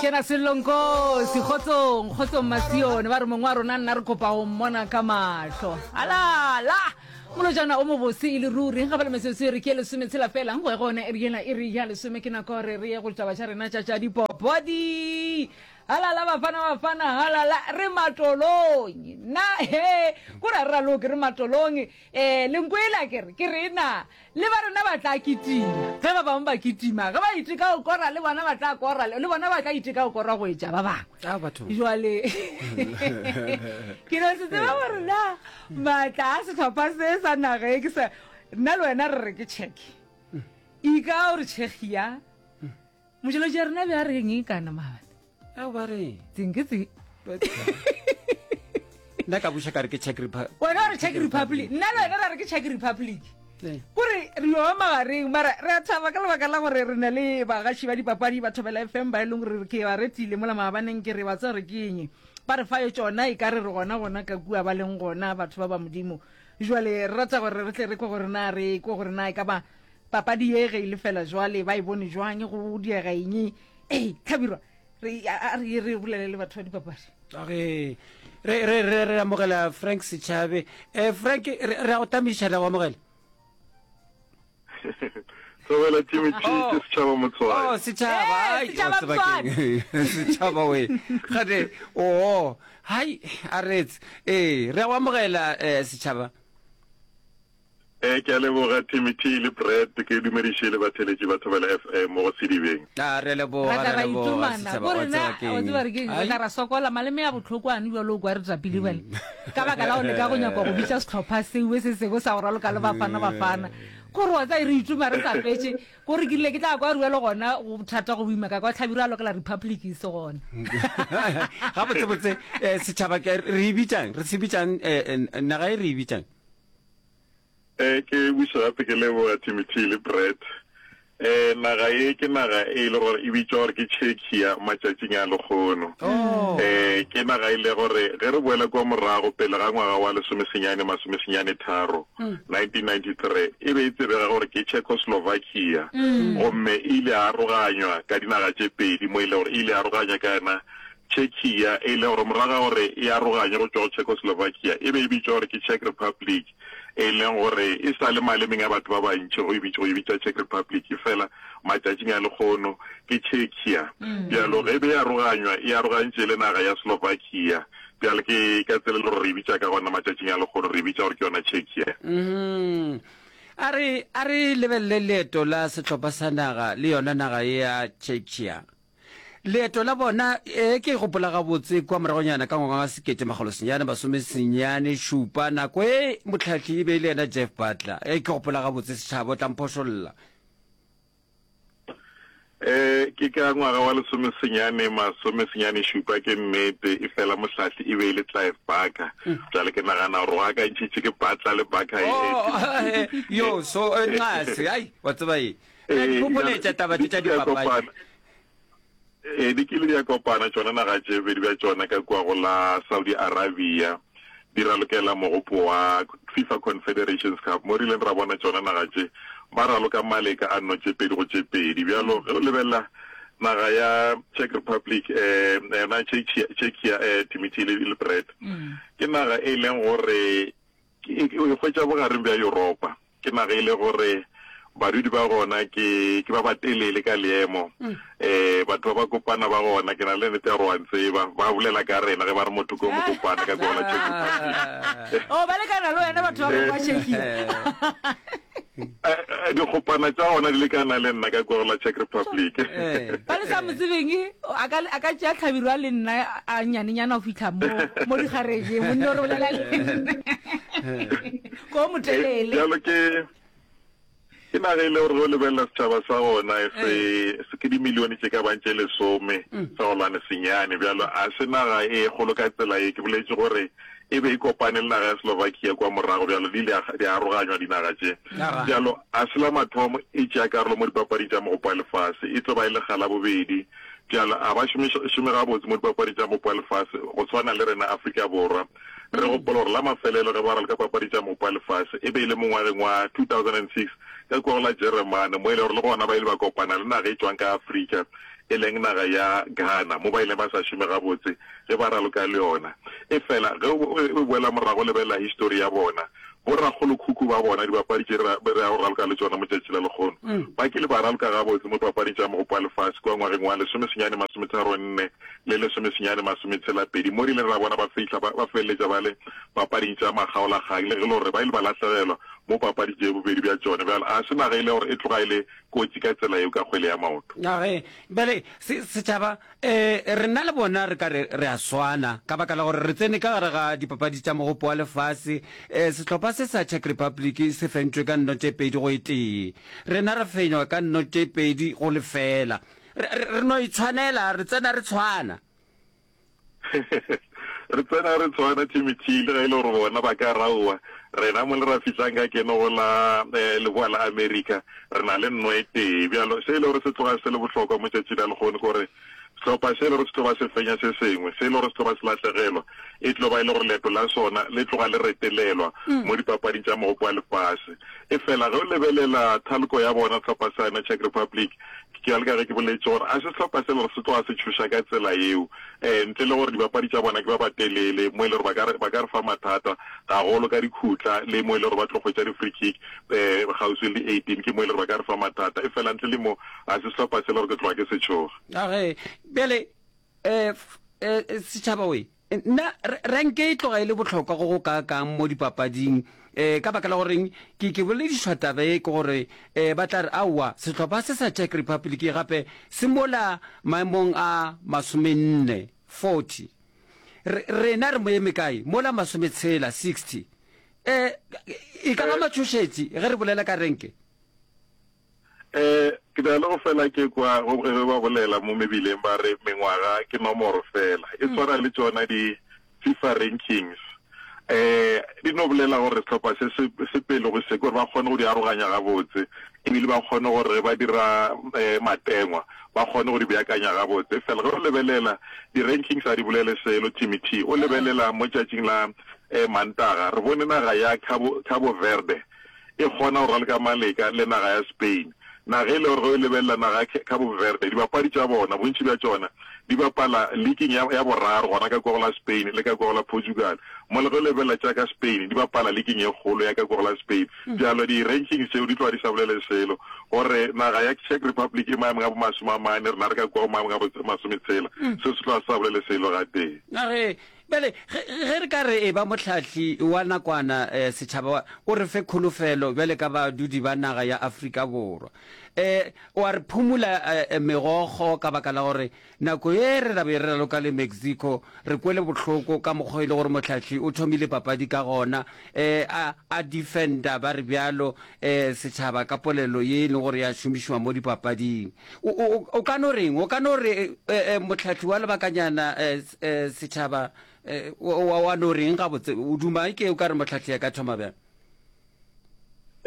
Kena Sello Nkosi, kgotsong, kgotsong Masione, ba re mongwe wa rona nna re kopa go mmona ka mahlo. Alala! Molojana o mobose e le ruri, ga ba le metsotso e re ke lesometshela fela, go ya go yona iri yela iri ya lesome ke nako gore re ye go ditaba tša rena tša tša dipopodi. Halala bafana bafana halala re matolong na he ko ra re raloke re matolong um lenkwela ke re ke re na Le ba rena ba tla kitima. Ge ba bangwe ba kitima, ge ba iteka go kora, le bona ba tla kora, le bona ba tla iteka go kora go etša ba bangwe. Ah, batho. Jwale ke no se tseba gore na maatla a sehlopha se sa naga e ke sa nna le wena re re ke check. Ika o re Czechia. Motšweletši ya rena be a reng e kana maabane? Ao ba reng? Tseng ke tse. Nna ka buša ka re ke Czech Republic. Wena o re Czech Republic. Nna le wena ra re ke Czech Republic. Eh. Kore re yo magareng mara re a thaba ka lebaka la gore re na le bagaši ba dipapadi ba Thobela FM ba e leng gore ke ba retile mola maabaneng ke re ba tseba gore ke eng. Ba re fa yo tšona e ka re re gona gona ka kua ba leng gona batho ba ba Modimo. Jwale re rata gore re tle re kwe gore na re kwe gore na e ka ba papadi ye ge e le fela jwale ba e bone jwang go diega eng. Ee, Hlabirwa, re a re re bolele le batho ba dipapadi. Re re re re re amogela Frank Sechabe. Eh Frank re re a go tamiša re a go amogela. Thobela Jimmy T Oh. ke setšhaba motswai. Oh setšhaba Eh, ai setšhaba wa tseba keng? Setšhaba we. Gade oh hai a retse. Eh re a go amogela eh setšhaba. Ee, ke a leboga Timothy le Brad, ke dumediše le batheeletši ba Thobela FM mo go Sedibeng. A re a leboga, Ra re tla a ra leboga itomana setšhaba, ko wa rena tseba wa keng. tseba re keng re Ai. tla ra sokola maleme a bohloko ane bjalo o kwa re tapile bjale ka baka la go leka go nyaka go bitša sehlopha seo se sengwe sa go raloka le Bafana Bafana kore wa tseba re itoma re sa fetše kore ke rile ke tla kwa rua le gona go thata go boima ka kwa Hlabirwa a lokela Republic e se gona. Gabotsebotse eh, setšhaba ke re e bitšang re se bitšang eh, eh, naga e re e bitšang Eh, ke buša gape ke leboga Timothy le Brett. Eh, naga ye ke naga e le gore e bitšwa gore ke Czechia matšatšing a lekgono. Oh. Eh, ke naga e le gore ge re boela kua morago pele ga ngwaga wa lesomesenyane masomesenyane tharo, 1993, e be e tsebega gore ke Czechoslovakia. Gomme e ile ya aroganywa ka dinaga tše pedi mo e le gore e ile ya aroganywa ka yona Czechia, e le gore morago ga gore e aroganywe go tšwa go Czechoslovakia, e be e bitšwa gore ke Czech Republic, e leng gore e sa le malemeng a batho ba bantši go e bitša, go e bitša Czech Republic, efela matšatšing a lekgono ke Czechia. Bjalo ge e be e aroganywa, e arogantše le naga ya Slovakia. Bjalo ke ka tsela e le gore re e bitša ka gona matšatšing a lekgono, re e bitša gore ke yona Czechia. A re, a re lebelele leeto la sehlopha sa naga le yona naga ye ya Czechia. Leeto la bona, ee, ke gopola gabotse, kua moragonyana ka ngwaga wa 1997, nako e mohlahli e be e le yena Jeff Butler. Ee, ke gopola gabotse, setšhaba, o tla mphošolla. Ee, ke ka ngwaga wa lesomesenyane masomesenyanešupa, ke nnete, efela mohlahli e be e le Clive Barker. Bjale ke nagana gore go akantšhitše ke Butler le Barker e Oh, yo, so, nxase, ai, wa tseba eng? Re a di phopholetša taba tše tša dipapadi. Ee, di kile di a kopana tšona naga tše bobedi bja tšona ka kua go la Saudi Arabia di ralokela mogopo wa FIFA Confederations Cup mo re ileng ra bona tšona naga tše ba raloka maleka a nno tše pedi go tše pedi. Bjalo ge o lebelela naga ya Czech Republic um yona Czechia um Timothy le Brett ke naga e leng gore o e hwetša bogareng bja Yuropa. Ke naga e le gore badudi ba gona ke ke ba batelele ka leemo. Um batho ba ba kopana ba gona, ke na le nnete ya gore wa ntseba, ba bolela ka rena ge ba re motho ke o mokopana ka kua go la Czech Republic. Oh, ba lekana le wena batho ba go kwa Czechia. Eh, eh, dikgopana tša gona di lekana le nna ka kua go la Czech Republic. Ba le sa mo tsebeng, a ka a ka tšea tlhabirwa le nna a nyanenyana go fitlha mo mo digarejeng, monna o re bolela le nna. Ko motelele. Bjalo ke ke naga e le gore ge o lebelela setšhaba sa gona e se se ke dimilione tše ka bang tše lesome sa golwane senyane. Bjalo a se naga e kgolo ka tsela ye. Ke boletše gore e be e kopane le naga ya Slovakia kwa morago, bjalo di ile di aroganywa dinaga tše. Bjalo a se la mathomo e tšea karolo mo dipapading tša Mogopo wa Lefase, e tlo ba e lekga la bobedi. Bjalo a ba šome šome gabotse mo dipapading tša Mogopo wa Lefase go swana le rena Afrika Borwa. Re gopola gore la mafelelo ge ba raloka papadi tša Mopa Lefase e be e le mongwageng wa 2006 ka kua go la Jeremane mo e le gore le gona ba ile ba kopana le naga e tšwang ka Afrika. e leng naga ya Ghana, mo ba ileng ba sa šome gabotse ge ba raloka le yona. Efela ge o boela morago o lebelela histori ya bona, borakgolokhukhu ba bona, dibapadi tše re re yago go raloka le tšona mo tšatši la lekgono, ba kile ba raloka gabotse mo dipapading tša Mogopo wa Lefase kua ngwageng wa lesomesenyane masometharonne le lesomesenyane masometshela-pedi, mo re ileng ra bona ba fihla ba ba feleletša ba le papading tša makgaolakgang, le ge e le gore ba ile ba lahlegelwa mo papading tše bobedi bja tšona. Bjale ga se naga e le gore e tloga e le kotsi ka tsela yeo ka kgwele ya maoto. A ge, bjale, se, setšhaba, e, rena le bona re ka re re a swana, ka baka la gore re tsene ka gare ga dipapadi tša Mogopo wa Lefase. E, sehlopha se sa Czech Republic se fentšwe ka nno tše pedi go e tee. Rena ra fenywa ka nno tše pedi go lefeela. Re, re, re no itshwanela, re tsena re tshwana. Re tsena re tshwana, Timothy, le ge e le gore bona ba ka raowa, rena mo le ra fihlang ka keno go la Leboa la Amerika, re na le nno e tee. Bjalo, se e le gore se tloga se le bohlokwa mo tšatši la lehono ke gore sehlopha se e le gore se tlo ba se fenya se sengwe, se e le gore se tlo ba se lahlegelwa, e tlo ba e le gore leeto la sona le tloga le retelelwa mo dipapading tša Mogopo wa Lefase. Efela ge o lebelela thaloko ya bona, sehlopha sa yona Czech Republic, Ke bjalo ka ge ke boletše gore a se sehlopha se le gore se tloga se tšhoša ka tsela yeo, um ntle le gore dibapadi tša bona ke ba batelele mo e le gore ba ka re, ba ka re fa mathata gagolo ka dikhutla le mo e le gore ba tlo hwetša di-free kick um kgauswi le di-eighteen ke mo e le gore ba ka re fa mathata. Efela ntle le mo ga se sehlopha se le gore ke tloga ke se tšhoga. A ge bjale um setšhaba we nna renke e tloga e le bohlokwa go go kaakang mo dipapading um ka baka la goreng ke ke boledišwa taba e ke gore um ba tla re aowa sehlopha se sa Czech Republic gape se mola maemong a masomenne 40 rena re mo eme kae mola masometshela 60 um e ka ba matšhošetši ge re bolela ka renke Eh, ke na le go fela ke kwa go ge ba bolela mo mebileng ba re mengwaga ke nomoro fela. E tshwana le tšona di FIFA rankings. Eh, di no bolela gore sehlopha se se se pele go se ke gore ba kgone go di aroganya gabotse ebile ba kgone gore ge ba dira eh, matengwa ba kgone go di beakanya gabotse. Fela ge o lebelela di-rankings ga di bolele selo, Timothy. O lebelela mo tšatšing la eh, Mantaga re bone naga ya Cabo, Cabo Verde e kgona go raloka maleka le naga ya Spain. Naga e le gore ge o lebelela naga ya Cabo Verde, dibapadi tša bona, bontši bja tšona di bapala leaking ya, ya boraro gona ka kua go la Spain le ka kua go la Portugal. Mola ge o lebelela tša ka Spain, di bapala leaking e kgolo ya ka kua go la Spain. Bjalo di-rankings tšeo di tloga di sa bolele selo gore naga ya Czech Republic e maemong a bomasome a mane, rena re ka kua go maemong a bo masometshela. Seo se tloga se sa bolele selo gatee. Nageng Bjale, ge, ge re ka re eba mohlahli wa nakwana, eh, setšhaba wa, o re fe kholofelo bjale ka badudi ba naga ya Afrika Borwa. Eh, wa re phumula eh, megokgo ka baka la gore nako ye re ra be re raloka le Mexico, re kwele bohloko ka mokgwa e le gore mohlahli o thomile papadi ka gona, eh, a, a defender ba re bjalo, eh, setšhaba ka polelo ye e leng gore ya šomišiwa mo dipapading. O, o, o ka no reng? O ka no re, eh, eh, mohlahli wa lebakanyana, eh, eh, setšhaba, eh, wa, wa no reng gabotse? O duma ke o ka re mohlahli a ka thoma bjang?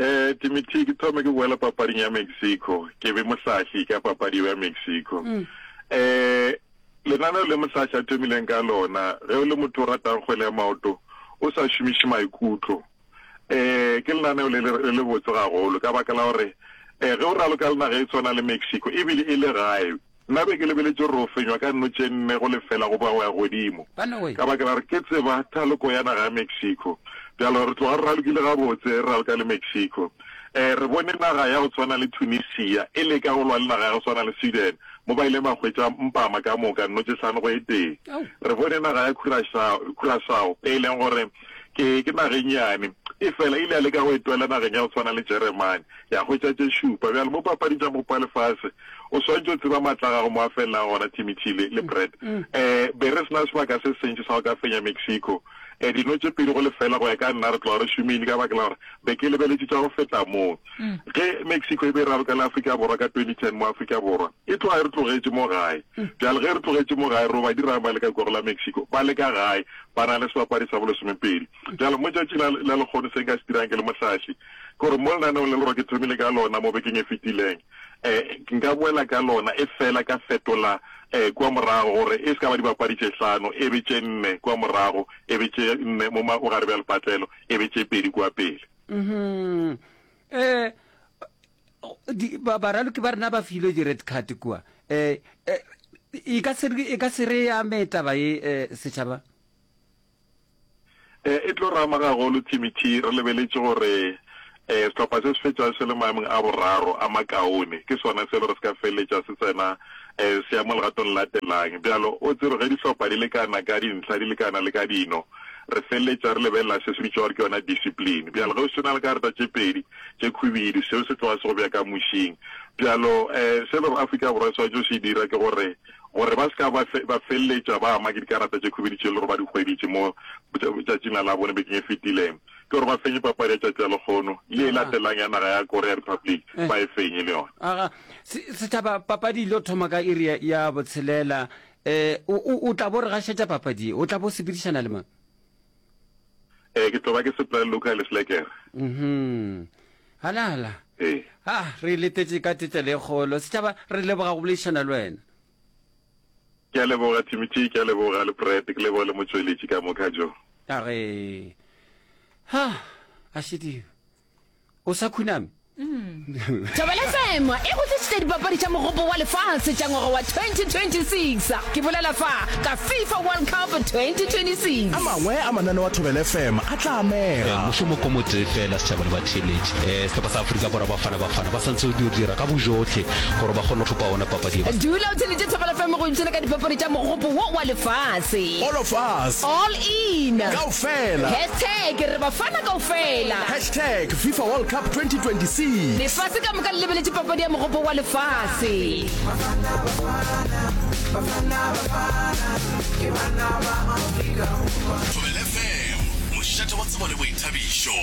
Eh, Timothy, ke thome ke boela papading ya Mexico, ke be mohlahli ka papadi ya Mexico. Mm. Eh, lenaneo le mohlahli a thomileng ka lona, ge o le motho o ratang kgwele ya maoto, o sa šomiše maikutlo, Eh, ke lenaneo le le le botse gagolo ka baka la gore eh, ge o raloka le naga e tshwana le Mexico ebile e le gae, nna be ke lebeletše gore o fenywa ka nno tše nne go lefela goba go ya godimo ka baka la gore ke tseba thaloko ya naga ya Mexico. Bjalo re tloga re ralokile gabotse re raloka le Mexico. Eh, re bone naga ya go tshwana le Tunisia e leka go lwa le naga ya go tshwana le Sweden mo ba ileng ba hwetša mpama ka moka nno tše hlano go e tee. Re bone naga ya Curaçao e leng gore Ke, ke naga e nnyane. Efela e ile ya leka go e twela nageng ya go tshwana le Jeremane, ya hwetša tše šupa. Bjale, mo papading tša Mogopo wa Lefase, o swanetše o tseba maatla a gago mo a felelang gona, Timothy le, le Brad. Eh, be re se na sebaka se sentši sa go ka fenya Mexico. Eh, dino tše pedi go lefela, go ya ka nna, re tloga re šomile, ka baka la gore be ke lebeletše tša go feta moo. Ge Mexico e be e raloka le Afrika Borwa ka 2010 mo Afrika Borwa, e tloga e re tlogetše mo gae. Bjale ge re tlogetše mo gae, ro ba dirang ba le ka kua go la Mexico? Ba le ka gae, ba na le sebapadi sa bolesomepedi. Bjale mo tšatšing la, la lekgono se nka se dirang ke le mohlahli, ke gore mo lenaneong le le gore ke thomile ka lona mo bekeng e fetileng, um nka boela ka lona, efela ka fetola um kua morago gore e se ka ba dibapadi tše hlano, e be tše nne kua morago, e be tše nne mo bogare bja lepatlelo, e be tše pedi kua pele. Mm-hmm. Eh, di, ba, baraloki ba rena ba filwe di-red card kua. Um e ka se e ka se re ame taba ye eh, setšhaba? Eh, e tlo re ama gagolo Timothy, re lebeletše gore eh, sehlopha se se fetšago se le maemong a boraro a makaone ke sona se le gore se ka feleletša se tsena eh, se ya mo legatong le latelang. Bjalo o tsebe ge dihlopha di lekana ka dintlha, di lekana le ka dino, re feleletša re lebelela se se bitšwa gore ke yona discipline. Bjalo ge o se na le karata tše pedi tše khwibidu, seo se tloga se go bea ka mušing. Bjalo eh, se le gore Afrika Borwa e swanetše go se dira ke gore gore ba se ka ba ba feleletša ba ama ke dikarata tše khubedu tše e le gore ba di hweditše mo tšatšing la Labone bekeng e fetileng, ke gore ba fenye papadi ya tšatši la lekgono le e latelang ya naga ya Korea Republic ba e fenye le yona. Aga, setšhaba, papadi e tlo thoma ka iri ya botshelela. Um o, o tla bo re gašetša papadi ye, o tla bo sepedišana le mang? Eh, ke tlo ba ke sepela le Luka le Slekere. Mhm. Halala. Ee. Ah, re letetše ka tetelo e kgolo. Setšhaba, re leboga go boledišana le wena. Ke a leboga Timothy, ke a leboga le Brad, ke leboga le motšweletši ka moka jo. A re, ha, a šediwe. O sa khuname? Thobela FM e go tlišitše dipapadi tša Mogopo wa Lefase tša ngwaga wa 2026. Ke bolela fa ka FIFA World Cup 2026. A mangwe a mananeo a Thobela FM a tla amega. Mošomo ko motee fela, setšhaba le batheeletši. Sehlopha sa Afrika Borwa, Bafana Bafana, ba santse go dio dira ka bojohle gore ba kgone go thopa ona papadi ye. Dula o theeletše Thobela FM go ipshina ka dipapadi tša Mogopo wo wa Lefase. All of us. All in. Kaofela. Hashtag re Bafana kaofela. Hashtag FIFA World Cup 2026. Lefase ka moka le lebeletše papadi ya Mogopo wa Lefase. Thobela FM, mošate wa tsebo le boithabišo.